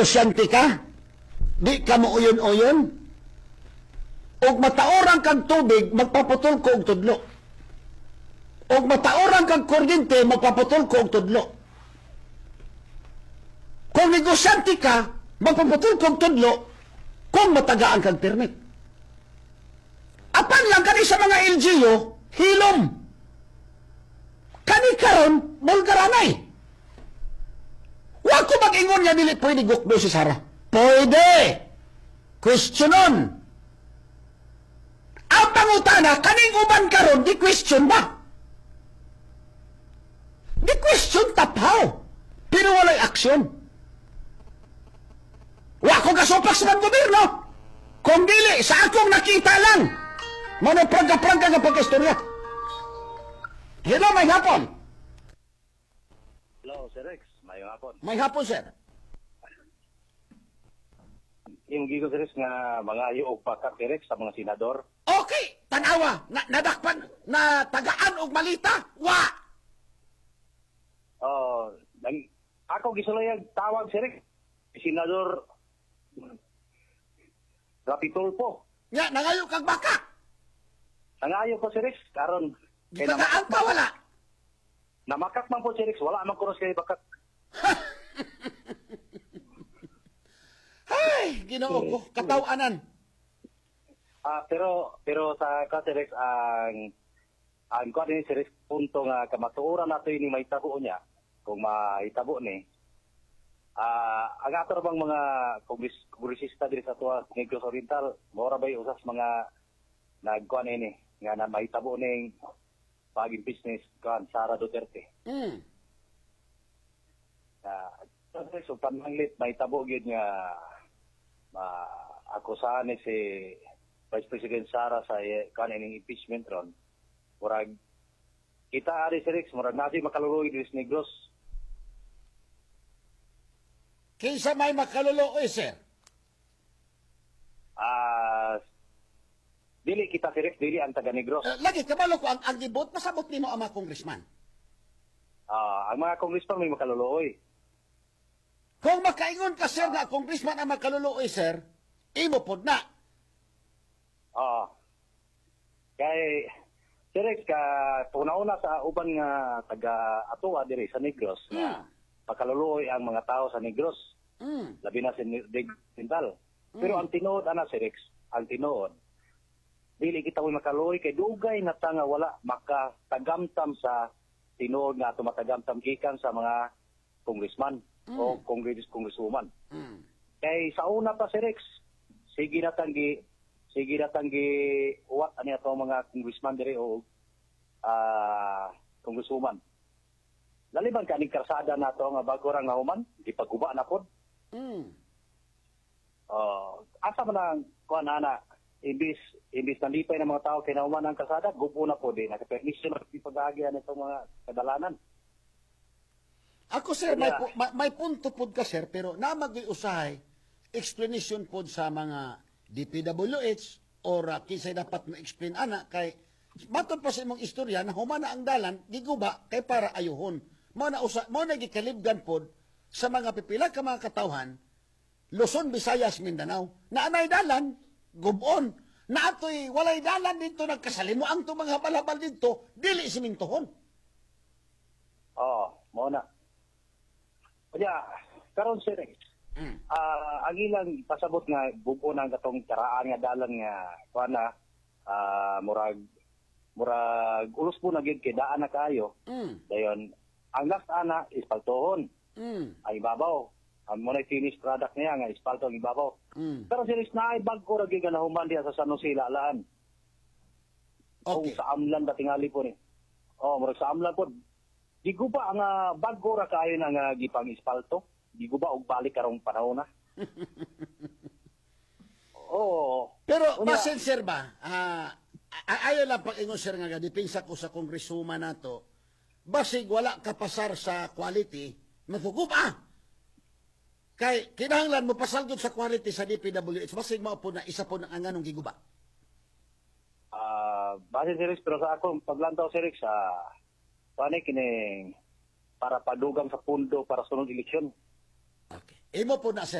Negosyante ka, di ka mo uyon-uyon, og mataoran kag tubig, magpaputol ko og tudlo. Og mataoran kag kuryente, magpaputol ko og tudlo. Kung negosyante ka, magpaputol ko og tudlo kung matagaan kag permit. Apan lang kani sa mga LGU, hilom. Kani karon, bulgaranay. Wa ko mag-ingon nga dili pwede gukdo si Sara. Pwede. Questionon. Ang pangutana, kaning uban karon, di question ba? Di question tapaw. Pero walay aksyon. Wa ko gasupak sa gobyerno. Kung dili, sa akong nakita lang. Mano prangka-prangka nga pagkistorya. Hello, maayong hapon. Hello, Sir Rex. Maayong hapon. Maayong hapon, sir. Yung gigo, Sir Rex, nga mga og backup, Sir Rex, sa mga senador. Okay, tanawa, na, nadakpan, na tagaan og malita, wa. Oh, nang, ako gisulayag tawag, Sir Rex. Senador Rapi Tulfo. Nya, nangayo kag baka. Nangayo ko, Sir Rex, karon kay Gitagaan pa wala. Namakak man po, Sir Rex, wala man kuros kay bakak. Ay, Ginoo ko, kataw-anan. Ah, pero pero sa ka, Sir Rex, ang kuan ni Sir Rex, punto nga kamatuoran nato ini mahitabo niya kung mahitabo ni ang ato ra bang mga kongresista diri sa tuwa Negros Oriental, mora bay usas mga nagkuan ini nga na mahitabo ning pag-impeach ni kuan Sara Duterte. Na so pananglit mahitabo gyud nga ma akusahan ni si Vice President Sara sa kuan ining impeachment ron, murag kita ari, Sir Rex, murag naa makaluluoy diri sa Negros. Kinsa may makaluluoy, sir? Ah, dili kita, Sir Rex, dili ang taga Negros. Eh, lagi kabalo ko ang gibot pasabot nimo ang mga congressman. Ah, ang mga congressman may makaluluoy. Kung makaingon ka, sir, nga congressman ang makaluluoy, sir, imo pod na. Ah. Kay Sir Rex, ka una-una sa uban nga taga atoa diri sa Negros nga pakaluluoy ang mga tao sa Negros, labi na sa Negros Oriental. Pero ang tinuod ana, Sir Rex, ang tinuod dili kita mo'y makaluoy kay dugay na ta nga wala makatagamtam sa tinuod nga ato matagamtam gikan sa mga congressman o congresswoman. Kay sa una pa, Sir Rex, sige na tanggi uwat ani ato mga congressman diri o congresswoman. Laliban kaning karsada nato nga bago ra nga human, gipaguba na pod. Asa man ang kuan ana, imbis imbis nalipay ng mga tao kay nahuman ang karsada, gubo na pod eh. Nakapermisyo na ipag-agian itong mga kadalanan. Ako, sir, may, may punto pod ka, sir, pero namagay usahay explanation pod sa mga DPWH or kinsay dapat ma-explain ana kay matod pa sa imong istorya na humana ang dalan giguba kay para ayuhon. Mao na usa mao na gikalibgan pod sa mga pipila ka mga katawhan Luzon, Visayas, Mindanao na anay dalan gubon na atoy walay dalan dito nagkasalimo ang to mga habal-habal dito dili simintohon. Oo, mao na. Kaya, karon, Sir Rex, ang ilang pasabot nga bugo na ang katong karaan nga dalan nga kuan na murag murag ulos po na gyud kay daan na kaayo. Dayon ang last ana ispaltohon ang ibabaw. Ang mo na finished product niya nga ispalto ang ibabaw. Pero Sir Rex, naay bag-o ra gyud nga nahuman diha sa San Jose Lalaan. Kung sa Amlan ba tingali po ni. Oh, murag sa Amlan po. Giguba ang bag-o ra kaayo na nga gipang ispalto. Giguba og balik karong panahon na. Oo. Pero Unya, basin, sir, ba, ayaw lang pag-ingon, sir, nga depensa ko sa congresswoman nato, basig wala ka pasar sa quality, mafuguba. Kay kinahanglan mo pasal gyud sa quality sa DPWH, basig mao po na isa po ng ang anong giguba. Base, Sir Rex, pero sa akong paglantaw, Sir Rex, paano kining para padugang sa pundo para sunod eleksyon. Okay. Imo po na, sir, ha?